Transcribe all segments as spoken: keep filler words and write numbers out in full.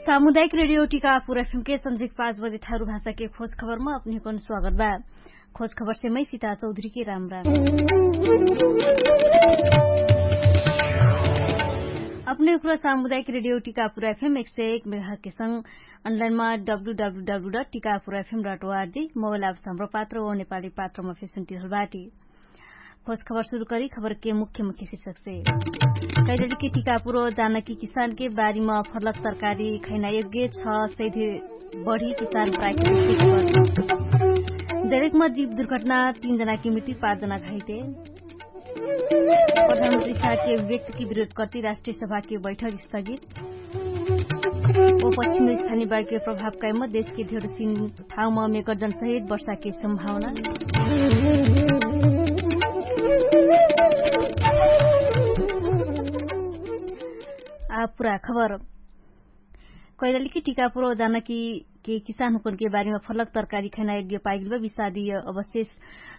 सामुदायिक रेडियो टिकापुर एफएम के संझिक पाँच बजे थारु भाषा के खोज खबर मा अपने हुकन स्वागत बा। खोज खबर से मै सीता चौधरी के राम राम। अपने हुकन सामुदायिक रेडियो टिकापुर एफएम एक सय एक मेघा के संग अनलाइन मा W W W dot Tikapur FM dot ORG mobile apps हाम्रो पात्र ओ नेपाली पात्र मा फेसुन्टी हलबाटी। खोज खबर सुरु करी खबर के मुख्य मुख्य शीर्षक से। कैलली के टिकापुरो जानकी किसान के बारी मा फर्लक तरकारी खैना योग्य छ सैधे बढी किसान प्राकृतिक। दैलेक मा जीव दुर्घटना तीन जना के मृत्यु पाँच जना घाइते। प्रधानमन्त्री साहके व्यक्तिके विरोध कर्ति राष्ट्रिय सभाके बैठक स्थगित। ओ पश्चिम स्थानिय बाइके प्रभाव कैम देशके धेरसिन ठाउँमा मेकर्जन सहित वर्षाके सम्भावना। आ पुरा खबर। कैलालीके टिकापुरो जानकी के किसान हुकनके बारेमा फलक तरकारी खैना योग्य पाइगेल बा विषादी अवशेष।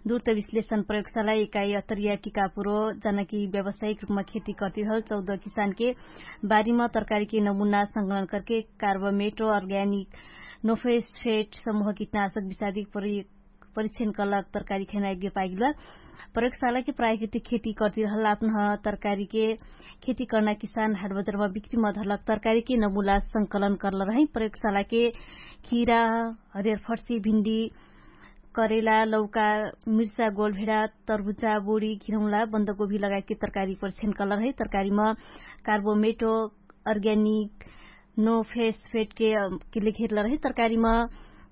दूर त विश्लेषण प्रयोगशाला एकाइ अतरिया टिकापुरो जानकी व्यावसायिक रूपमा खेती कर्तिरहल चौध किसानके बारीमा तरकारीके नमुना संकलन करके कार्बोमेट अर्ग्यानिक नोफेस्फेट समूह किटनाशक विषादी प्रयोग परीक्षण कलक तरकारी खैना योग्य पाइगेल बा। प्रयोगशालाके प्राकृतिक खेती कर्तिरहल आपनह तरकारीके खेती कर्ना किसान हाटबजारमा बिक्रीमा धरलक तरकारीके नमुना संकलन कर्ल रहै। प्रयोगशालाके खिरा, हरियर फर्सी, भिन्डी, करेला, लौका, मिर्चा, गोलभेडा, तरबुजा, बोडी, घिरौला, बन्दगोभी लगायतके तरकारी परीक्षण कर्ल रहै। तरकारीमा कार्बोमेटो अर्ग्यानिक नोफेस्फेटके लेखेरल रहै। तरकारीमा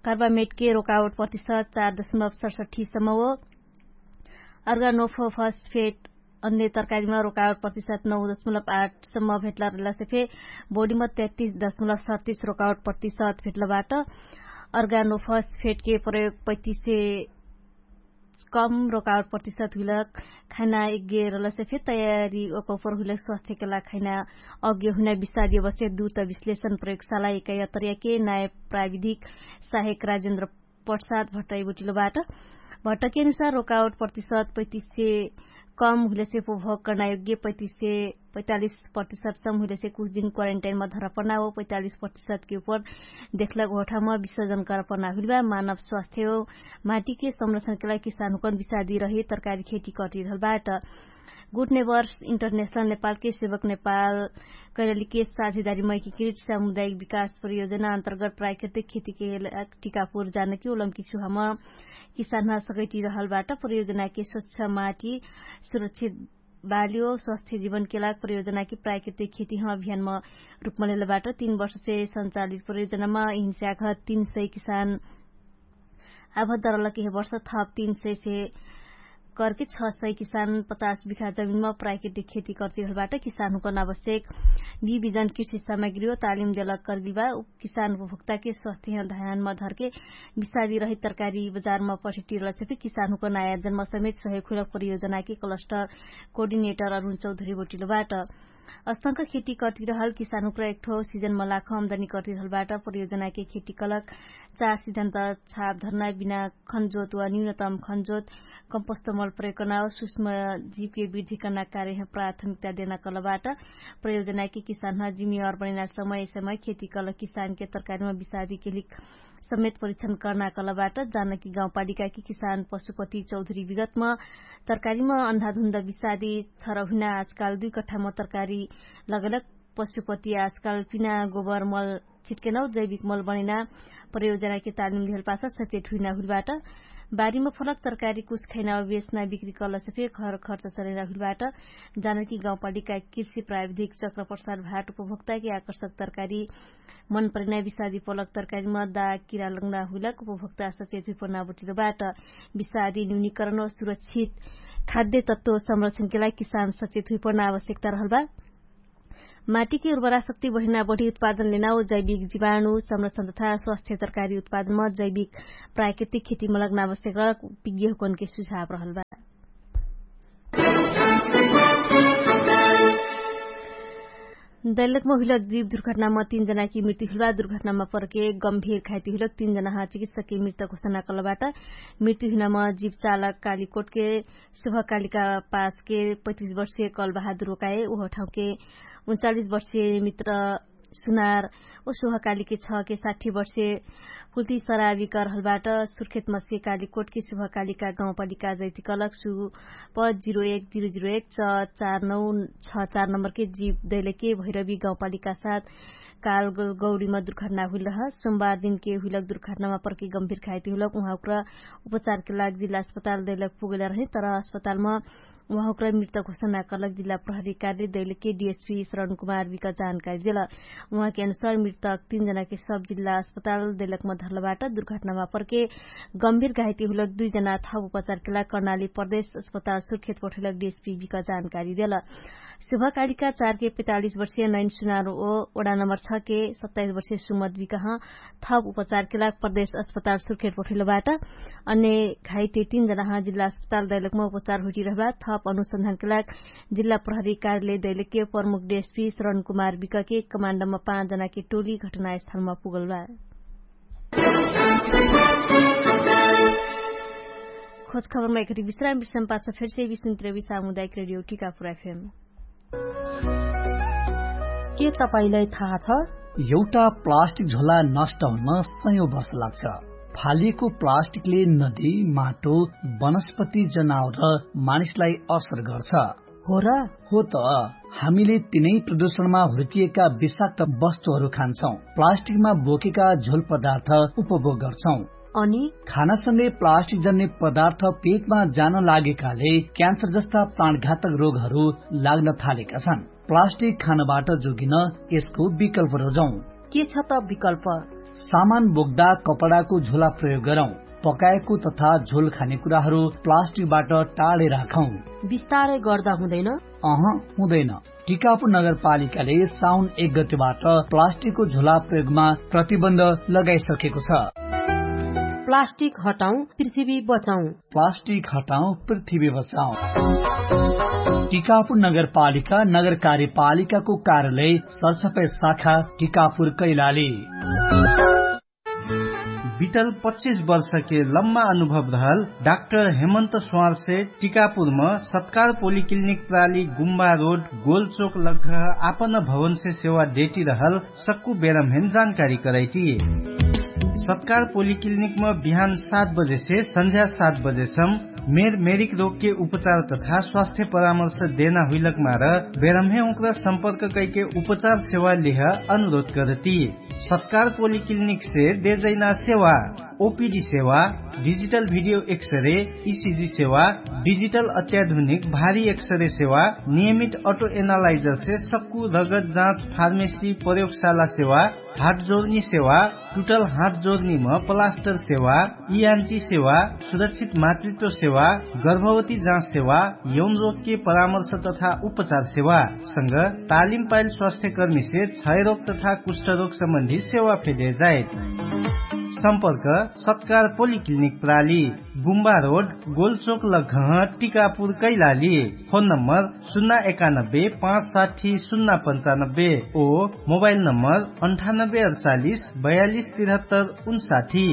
कार्बामेटके रोकावट प्रतिशत चार दशमलब सडसठ्ठी सम्म हो। अर्गानोफोफस्फेट अन्य तरकारीमा रोकावट प्रतिशत नौ दशमलब आठ सम्म भेटल रहला से फे बोडीमा तैतिस दशमलब सडतिस रोकावट प्रतिशत भेटल बाट। अर्गानोफस्फेटके प्रयोग पैतिसे कम रोकावट प्रतिशत हुइलक खैना यज्ञ रहला से फे तयारी ओकौपर हुइलक स्वास्थ्यके ला खैना अज्ञ हुइना विषादी अवश्य दूत विश्लेषण प्रयोगशाला एकैया तरियाके नाय प्राविधिक साहेक राजेन्द्र प्रसाद भट्टै बोटिलो बाट। भट्टके अनुसार रोकावट प्रतिशत पैतिसे कम हुइलेसे उपभोग कर्ना योग्य पैतिसे पैतालिस प्रतिशत सम हुइलेसे कुछ दिन क्वारेन्टाइनमा धरपना हो पैतालिस प्रतिशतके उपर देखलक होठामा विसर्जन करपना हुइलबा मानव स्वास्थ्य हो। माटीके संरक्षणके लागि किसान हुकन विषादी रहे तरकारी खेती कर्तिरहल बाट। गुटने वर्ष इन्टरनेशनल नेपालके सेवक नेपाल कैलालीके साझेदारी मैकिकृत सामुदायिक विकास परियोजना अन्तर्गत प्राकृतिक खेतीके टिकापुर जानकी ओलम्की सुहामा किसानह सकैटिरहल बाट। परियोजनाके स्वच्छ माटी सुरक्षित बाल्यो स्वास्थ्य जीवनके लाग परियोजनाके प्राकृतिक खेतीह अभियानमा रूपमा लेहल बाट। तीन वर्षसे सञ्चालित परियोजनामा हिंस्याघ तीन सय किसान आभद्दरलक यह वर्ष थप तीन सय से करके छ सय किसान पचास बिखा जमिनमा प्राकृतिक खेती कर्तिरहल बाट। किसान हुकन आवश्यक बिबिजन कृषि सामग्री हो तालिम देलक कर्गिल बा। किसान उपभोक्ताके स्वास्थ्य ध्यानमा धरके विषादी रहित तरकारी बजारमा पठिटिरहल छेपे किसान हुकन आयोजनमा समेत सहयोग हुइलक परियोजनाके कलस्टर कोर्डिनेटर अरुण चौधरी बोटिलो बाट। अस्तंक खेती कर्तिरहल किसान हुक्र एकठो सिजनमा लाख अम्दनी कर्तिरहल बाट। परियोजनाके खेती कलक चार सिजन त छाप धर्ना बिना खनजोत वा न्यूनतम खनजोत कम्पस्तमल प्रयोग कर्ना वा सुष्म जीवके वृद्धि कर्ना कार्यह प्राथमिकता देना कलबाट। प्रयोजनाके किसानह जिम्मेवार बनेना समय समय खेती कलक किसानके तरकारीमा विषादीके लिक समेत परीक्षण कर्ना कलबाट। जानकी गाउँपालिकाके किसान पशुपति चौधरी विगतमा तरकारीमा अन्धाधुन्द विषादी छर हुइना आजकाल दुइ कट्ठामा तरकारी लगलक। पशुपति आजकाल पिना गोबर मल छिटकेनौ जैविक मल बनैना प्रयोजनाके तालिम लिहल पासा सचेट हुइना हुइलबाट। बारीमा फलक तरकारी कुछ खैना बेच्ना बिक्री कलसे फे खर खर्च चलैना हुइलबाट। जानकी गाउँपालिका कृषि प्राविधिक चक्र प्रसार भाट उपभोक्ताके आकर्षक तरकारी मन परिना विषादी पलक तरकारीमा दाग किरा लग्ना हुइलक उपभोक्ता सचेत हुइपना बोटिलो बाट। विषादी न्यूनीकरण वा सुरक्षित खाद्य तत्व संरक्षणके लागि किसान सचेत हुइपना आवश्यकता रहल बा। माटीके उर्वरा शक्ति बढिना बढी उत्पादन लेना वा जैविक जीवाणु संरक्षण तथा स्वास्थ्य तरकारी उत्पादनमा जैविक प्राकृतिक खेतीमा लग्ना आवश्यकता विज्ञ हुकनके सुझाव रहल बा। दैलकमा हुइलक जीव दुर्घटनामा तीन जनाकी मृत्यु हुइलबा दुर्घटनामा परके गम्भीर घाइती हुइलक तीन जनाहा चिकित्सकके मृत्यु घोषणा कलबाट। मृत्यु हुइनामा जीव चालक कालीकोटके शुभकालिका पासके पैतिस वर्षीय कलबहादुर ओकाए उहो ठाउँके उन्चालिस वर्षीय मित्र सुनार ओ शुभकालिके छ के साठी वर्षे पुल्ती सराबी करहलबाट सुर्खेत मस्के कालिकोटके शुभकालिका गाउँपालिका जैतिकलक सु प जिरो एक जिरो जिरो एक च चार नौ छ चार नम्बरके जीव दैलके भैरवी गाउँपालिका साथ काल गौडीमा दुर्घटना हुइलह। सोमबार दिनके हुइलक दुर्घटनामा परके गम्भीर खाइती हुइलक उहाँ उक्र उपचारके लाग जिल्ला अस्पताल दैलक पुगैला रहे तर अस्पतालमा उहाँ उक्र मृत घोषणा करलक जिल्ला प्रहरी कार्य दैलके डिएसपी शरण कुमार बिक जानकारी देल। उहाँके अनुसार मृतक तीन जनाके सब जिल्ला अस्पताल दैलकमा धरलबाट दुर्घटनामा परके गम्भीर घाइती हुइलक दुइ जना थप उपचारके लाग कर्णाली प्रदेश अस्पताल सुर्खेत पठैलक डिएसपी बिक जानकारी देल। शुभकालिका चारके पैतालिस वर्षीय नैन सुनारो ओ वडा नम्बर छके सत्ताइस वर्षीय सुमत बिकह थप उपचारके लाग प्रदेश अस्पताल सुर्खेट पठैलबाट। अन्य घाइते तीन जनाह जिल्ला अस्पताल दैलकमा उपचार हुइटी रहबा थप अनुसन्धानके लाग जिल्ला प्रहरी कार्यालय दैलके प्रमुख डिएसपी शरण कुमार बिकके कमाण्डमा पाँच जनाके टोली घटनास्थलमा पुगलबा। खोज खबरमा एकरी विश्राम विश्राम पाछ फेरसे विष्णु त्रेवी सामुदायिक रेडियो टिकापुर एफएम। के तपाईंलाई थाहा छ? एउटा प्लास्टिक झोला नष्ट हुन सयौं वर्ष लाग्छ। फालिएको प्लास्टिकले नदी, माटो, वनस्पति, जनावर र मानिसलाई असर गर्छ। हो र? हो त। हामीले तिनै प्रदूषणमा हुर्किएका विषाक्त वस्तुहरू खान्छौं, प्लास्टिकमा बोकेका झोल पदार्थ उपभोग गर्छौं। अनि खानासँगै प्लास्टिक जन्ने पदार्थ पेटमा जान लागेकाले क्यान्सर जस्ता प्राणघातक रोगहरू लाग्न थालेका छन्। प्लास्टिक खानबाट जोगिन यसको विकल्प रोजौं। के छ त विकल्प? सामान बोक्दा कपडाको झोला प्रयोग गरौं। पकाएको तथा झोल खाने कुराहरू प्लास्टिकबाट टाढे राखौं। बिस्तारै गर्दा हुँदैन? अह, हुँदैन। टिकापुर नगरपालिकाले साउन एक गतेबाट प्लास्टिकको झोला प्रयोगमा प्रतिबन्ध लगाइसकेको छ। प्लास्टिक हटाउँ, पृथ्वी बचाउँ। प्लास्टिक हटाउँ, पृथ्वी बचाउँ। टिकापुर नगरपालिका नगर कार्यपालिकाको कार्यालय सरसफाइ शाखा टिकापुर कैलाली। बितल पच्चिस वर्षके लम्मा अनुभव रहल डाक्टर हेमन्त स्वारसे टिकापुरम सत्कार पोलिक्लिनिक प्राली गुम्बा रोड गोलचोक लग्घ आपन भवनसे सेवा डेटी रहल सक्कु बेरमहेन जानकारी करैटी। सत्कार पोलिक्लिनिकम बिहान सात बजेसे संझ्या सात बजेसम मेर मेरिक रोगके उपचार तथा स्वास्थ्य परामर्श देना हुइलक मार बेरमहे उक्र सम्पर्क कैके उपचार सेवा लिह अनुरोध करती। सत्कार पोलिक्लिनिकसे देजैना सेवा ओपिडी सेवा, डिजिटल भिडियो एक्सरे, इसिजी सेवा, डिजिटल अत्याधुनिक भारी एक्सरे सेवा, नियमित अटो एनालाइजरसे सक्कु रगत जाँच फार्मेसी प्रयोगशाला सेवा, हाट जोर्नी सेवा, टुटल हाट जोर्नीम पलास्टर सेवा, इआन्टी सेवा, सुरक्षित मातृत्व सेवा, गर्भवती जाँच सेवा, यौन रोगके परामर्श तथा उपचार सेवा संग तालिम पाइल स्वास्थ्यकर्मीसे क्षयरोग तथा कुष्ठरोग सम्बन्धी सेवा फेदे जाइत। सम्पर्क सत्कार पोलिक्लिनिक प्राली, गुम्बा रोड, गोलचोक लग्घह, टिकापुर कैलाली। फोन नम्बर सुन्ना एकानब्बे पाँच साठी सुन्ना पन्चानब्बे ओ मोबाइल नम्बर अन्ठानब्बे अडचालिस बयालिस तिरहत्तर उन्साठी।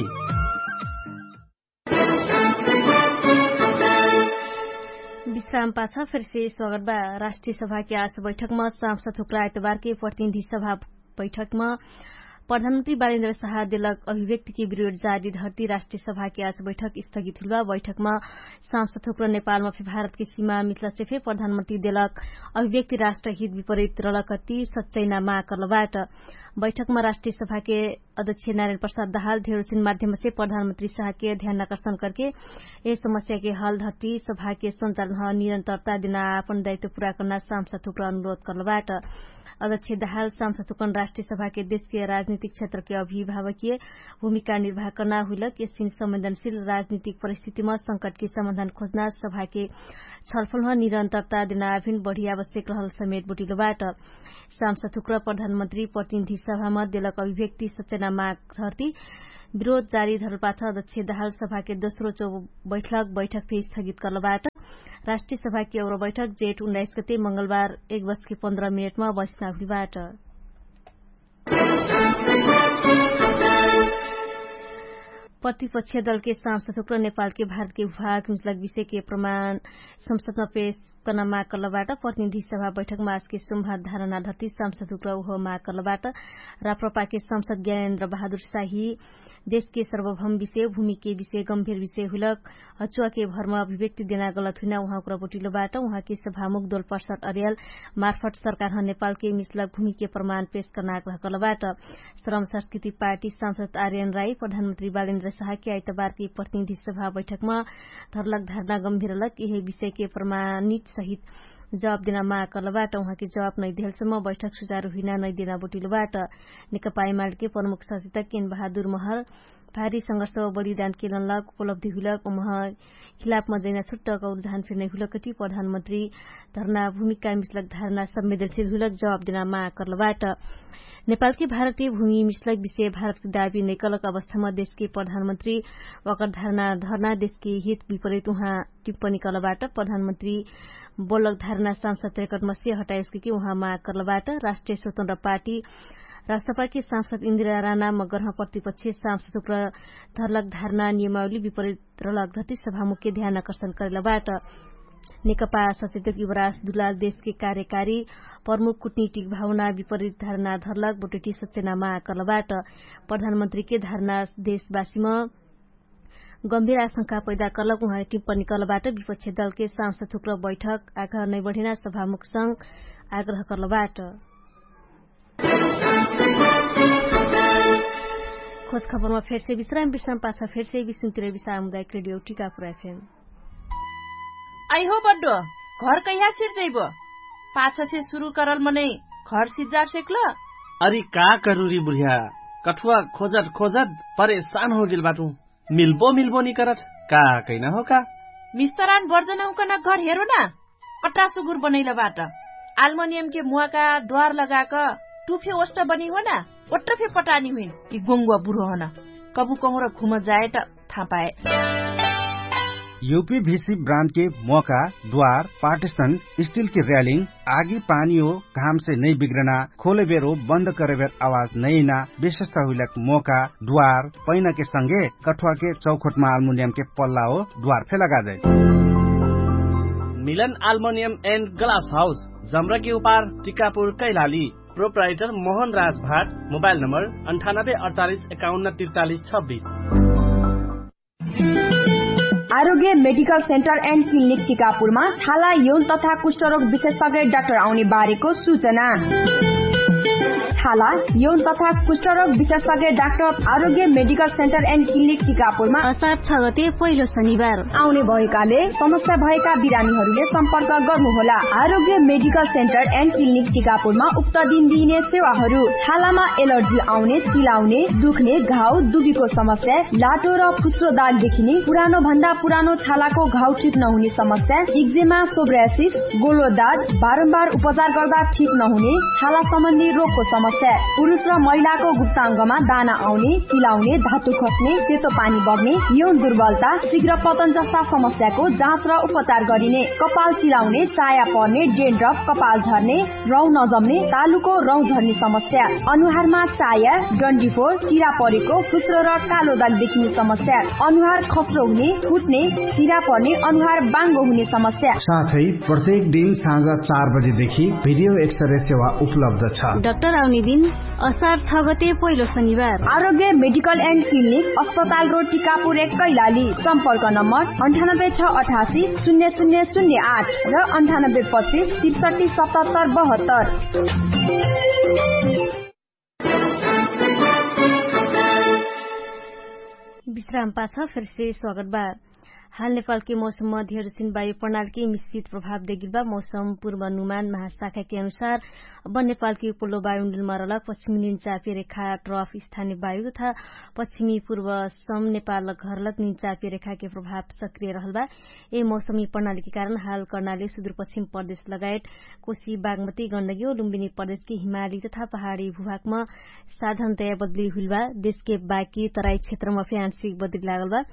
विश्राम पाछ फेरसे स्वागत बा। राष्ट्रिय सभाके आज बैठकमा सांसद हुक्रा आइतबारके प्रतिनिधि सभा बैठकमा प्रधानमन्त्री बालेन्द्र शाह देलक अभिव्यक्तिके विरोध जारी धरती राष्ट्रिय सभाके आज बैठक स्थगित हुइलबा। बैठकमा सांसद हुक्र नेपालमा फे भारतके सीमा मिथलासे फे प्रधानमन्त्री देलक अभिव्यक्ति राष्ट्रहित विपरित रलकती सच्चैना माग करलबाट। बैठकमा राष्ट्रिय सभाके अध्यक्ष नारायण प्रसाद दहाल धेरोसिन माध्यमसे प्रधानमन्त्री शाहके ध्यान आकर्षण करके यस समस्याके हल धरती सभाके सञ्चालन निरन्तरता देना आपन दायित्व पुरा कर्ना सांसद हुक्र अनुरोध करलबाट। अध्यक्ष दहाल सांसद हुक्र राष्ट्रिय सभाके देशके राजनीतिक क्षेत्रके अभिभावकीय भूमिका निर्वाह कर्ना हुइलक यसिन संवेदनशील राजनीतिक परिस्थितिमा संकटके समाधान खोज्ना सभाके छलफलमा निरन्तरता देना आभिन बढी आवश्यक रहल समेत बोटिलबाट। सांसद हुक्र प्रधानमन्त्री प्रतिनिधि सभामा देलक अभिव्यक्ति सचेना माग धरती विरोध जारी धरलपाछ अध्यक्ष दहाल सभाके दोस्रो चो बैठक बैठक फे स्थगित करलबाट। राष्ट्रिय सभाके औरो बैठक जेठ उन्नाइस गते मंगलबार एक बजके पन्ध्र मिनेटमा बस्ना हुइबाट। प्रतिपक्ष दलके सांसद हुक्र नेपालके भारतके भाग मिसलक विषयके प्रमाण संसदमा पेश कर्ना माग कर्लबाट। प्रतिनिधि सभा बैठक मासके सुम्भार धारणा धति सांसद हुक्र उहो माग कर्लबाट। राप्रपाके सांसद ज्ञानेन्द्र बहादुर साही देशके सर्वभम विषय भूमिके विषय गम्भीर विषय हुइलक हचुवाके भरमा अभिव्यक्ति देना गलत हुइना उहाँ हुक्र बोटिलोबाट। उहाँके सभामुख दोलपर्सट अर्याल मार्फट सरकारह नेपालके मिसलक भूमिके प्रमाण पेश कर्ना आग्रह कर्लबाट। श्रम संस्कृति पार्टी सांसद आर्यन राई प्रधानमन्त्री बालेन्द्र साहके आइतबारके प्रतिनिधि सभा बैठकमा धरलक धारणा गम्भीरलक यहे विषयके प्रमाणित सहित जवाब देना माग कर्लबाट। उहाँके जवाब नैदेहलसम्म बैठक सुचारु हुइना नैदेना बोटिलोबाट। नेकपा एमालेके प्रमुख सचेतक केन बहादुर महर भारी संघर्ष व बलिदान केलनलक उपलब्धि हुइलक उमह खिलाफमा जैना छुट्टक और धान फिर्नै हुइलक कति प्रधानमन्त्री धर्ना भूमिका मिसलक धारणा संवेदनशील हुइलक जवाब देना माग कर्लबाट। नेपालके भारतीय भूमि मिसलक विषय भारतके दाबी नैकलक अवस्थामा देशके प्रधानमन्त्री वकर धारणा धर्ना देशके हित विपरित उहाँ टिप्पणी कर्लबाट। प्रधानमन्त्री बोलक धारणा सांसद रेकर्ड मस्से हटायस्के कि उहाँ माग कर्लबाट। राष्ट्रिय स्वतन्त्र पार्टी राष्ट्रपाके सांसद इन्दिरा राना मगरह प्रतिपक्ष सांसद हुक्र धरलक धारणा नियमावली विपरित रलक धति सभामुख्य ध्यान आकर्षण करेलबाट। नेकपा सचेतक युवराज दुलाल देशके कार्यकारी प्रमुख कुटनीतिक भावना विपरित धारणा धरलक बोटोटी सचेना माग कर्लबाट। प्रधानमन्त्रीके धारणा देशवासीम गम्भीर आशंका पैदा कर्लक उहाँ टिप्पणी कर्लबाट विपक्ष दलके सांसद हुक्र बैठक आग्रह नैबढेना सभामुखसँग आग्रह कर्लबाट। खोज खबरमा फेरसे विश्राम विश्राम पाछ फेरसे विश्राम तिर विश्राम उदायक रेडियो टिकापुर एफएम। आइहो बड्डो, घर कैहा सिर्जैबो? पाछसे सुरु करल मनै घर सिर्जार सेक्ल? अरि का करुरी बुढिया, कठुवा खोजत खोजत परेशान होगेल बाटु। मिल्बो मिल्बो निकरत का कैना हो का? मिस्तरान बर्जनहुकन घर हेरो ना। अट्रा सुगुर बनैलबाट आल्मोनियमके मुवाका द्वार लगाक टुफे ओष्ट बनी हो ना। ओट्रफे पटानी हुइन कि गोङ्गुवा बुढो हन। कबु कहुँर घुम जायट थापाए। युपी भिसी ब्रान्डके मोका द्वार पार्टिसन स्टिलके र्यालिङ आगी पानी हो घामसे नै बिग्रना खोलेबेर हो बन्द करेबेर आवाज नैना विशेषता हुइलक मोका द्वार पैनाके संगे कठुवाके चौखोटमा आल्मुनियमके पल्ला हो द्वार फेला गाजै। मिलन आल्मोनियम एन्ड ग्लास हाउस जम्रकी उपार टिकापुर कैलाली। प्रोप्राइटर मोहन राज भाट। मोबाइल नम्बर अन्ठानब्बे अडचालिस एकाउन्न तिर्चालिस छब्बिस। आरोग्य मेडिकल सेन्टर एन्ड क्लिनिक टिकापुरमा छाला यौन तथा कुष्ठरोग विशेषज्ञ डाक्टर आउने बारेको सूचना। छाला यौन तथा कुष्ठरोग विशेषज्ञ डाक्टर आरोग्य मेडिकल सेन्टर एन्ड क्लिनिक टिकापुरमा असार छ गते पहिलो शनिबार आउने भएकाले समस्या भएका बिरामीहरूले सम्पर्क गर्नुहोला। आरोग्य मेडिकल सेन्टर एन्ड क्लिनिक टिकापुरमा उक्त दिन दिइने सेवाहरू छालामा एलर्जी आउने, चिलाउने, दुख्ने, घाउ, दुबीको समस्या, लाटो र फुस्रो दाग देखिने, पुरानो भन्दा पुरानो छालाको घाउ ठिक नहुने समस्या, इक्जेमा, सोब्रासिस, गोलो दाग, बारम्बार उपचार गर्दा ठिक नहुने छाला सम्बन्धी रोगको समस्या, पुरुष र महिलाको गुप्ताङ्गमा दाना आउने, चिलाउने, धातु खस्ने, सेतो पानी बग्ने, यौन दुर्बलता, शीघ्र पतन जस्ता समस्याको जाँच र उपचार गरिने, कपाल चिलाउने, चाया पर्ने, डेन्ड्रफ, कपाल झर्ने, रौँ नजम्ने, तालुको रौँ झर्ने समस्या, अनुहारमा चाया, डन्डीफोर, चिरा परेको, फुस्रो र कालो दाग देखिने समस्या, अनुहार खस्रो हुने, फुट्ने, चिरा पर्ने, अनुहार बाङ्गो हुने समस्या। साथै प्रत्येक दिन साँझ चार बजेदेखि भिडियो एक्सरे सेवा उपलब्ध छ। डाक्टर आउने दिन असार छ गते पहिलो शनिबार। आरोग्य मेडिकल एन्ड क्लिनिक, अस्पताल रोड, टिकापुर एक, कैलाली। सम्पर्क नम्बर अन्ठानब्बे छ अठासी शून्य शून्य शून्य आठ र अन्ठानब्बे पच्चिस त्रिसठी सतहत्तर बहत्तर। विश्राम पाछ फेरसे स्वागत बा। हाल नेपालके मौसममा धेरसिन वायु प्रणालके मिश्रित प्रभाव देगिल बा। मौसम पूर्वानुमान महाशाखाके अनुसार अब नेपालके उपल्लो वायुमण्डलमा रहलक पश्चिमी निन्चापे रेखा ट्रफ स्थानीय वायु तथा पश्चिमी पूर्वसम नेपाल घरलक निन्चापे रेखाके प्रभाव सक्रिय रहल बा। ए मौसमी प्रणालीके कारण हाल कर्णाली सुदूरपश्चिम प्रदेश लगायत कोशी बागमती गण्डगी ओ लुम्बिनी प्रदेशके हिमाली तथा पहाडी भूभागमा साधनतया बदली हुइल बा। देशके बाकी तराई क्षेत्रमा फे आंशिक बदली लागल बा।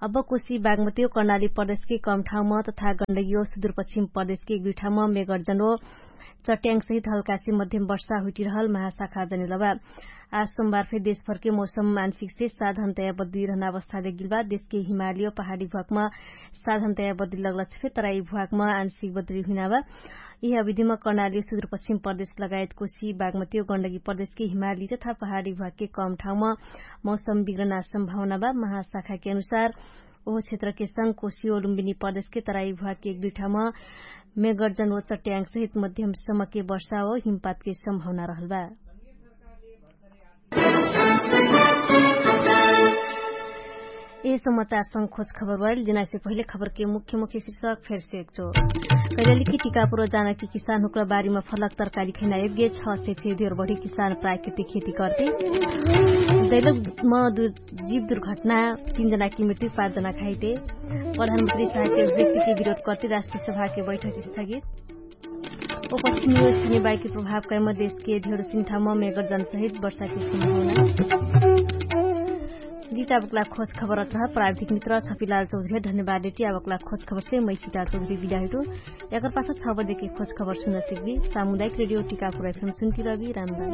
अब कोशी बागमती ओ कर्णाली प्रदेशके कम ठाउँमा तथा गण्डगी ओ सुदूरपश्चिम प्रदेशके गुइठामा मेगर्जन ओ चट्याङ्गसहित हल्कासे मध्यम वर्षा हुइटिरहल महाशाखा जनेलबा। आज सोमबार फेर देशभरके मौसम मानसिकसे साधनतया बदलिरहना अवस्था देखगिलबा। देशके हिमालियो पहाडी भुवाकमा साधनतया बदलिलगलछ फेर तराई भुवाकमा आनसिक बदलिहुइनाबा। यिह अविधिमा कर्णाली सुदुरपश्चिम प्रदेश लगायत कोशी बागमतियो गण्डगी प्रदेशके हिमाली तथा पहाडी भुवाकके कम ठाउँमा मौसम बिग्रना सम्भावनाबा। महाशाखाके अनुसार ओहो क्षेत्रके संग कोशी ओलुम्बिनी प्रदेशके तराई भुवाके एक दुइ ठाउँमा मेगर्जन ओ चट्याङ्गसहित मध्यम समके वर्षा ओ हिमपातके सम्भावना रहलबा। यह समाचार संग खोज खबर बाइल जेनासे पहिले खबरके मुख्य मुख्य शीर्षक फेरसे एकचो। कैलाली कि टिकापुर जाना कि किसान हुक्रा बारीमा फलक तरकारी खैना एब्गे छ से छे धेर बढी किसान प्राकृतिक खेती करते। दैलक म जीव दुर्घटना तीन जनाके मृत्यु पाँच जना खाइते। प्रधानमन्त्री साहके व्यक्तिके विरोध करते राष्ट्रिय सभाके बैठक स्थगित। उपस्थित निवेश हुने बाइकी प्रभाव कैम देशके धेर सिन्ठाम मेगर जनसहित वर्षाके सम्भावना। गीत आवकला खोज खबर अत्रह प्राविधिक मित्र छपिलाल चौधरी धन्यवाद डेटी आवकला खोज खबरसे मैसिता चौधरी बिदा हुइटो। यकर पाछा छ बजेके खोज खबर सुन्द सिकबी। सामुदायिक रेडियो टिकापुर एफएम सुन्ती रबी राम राम।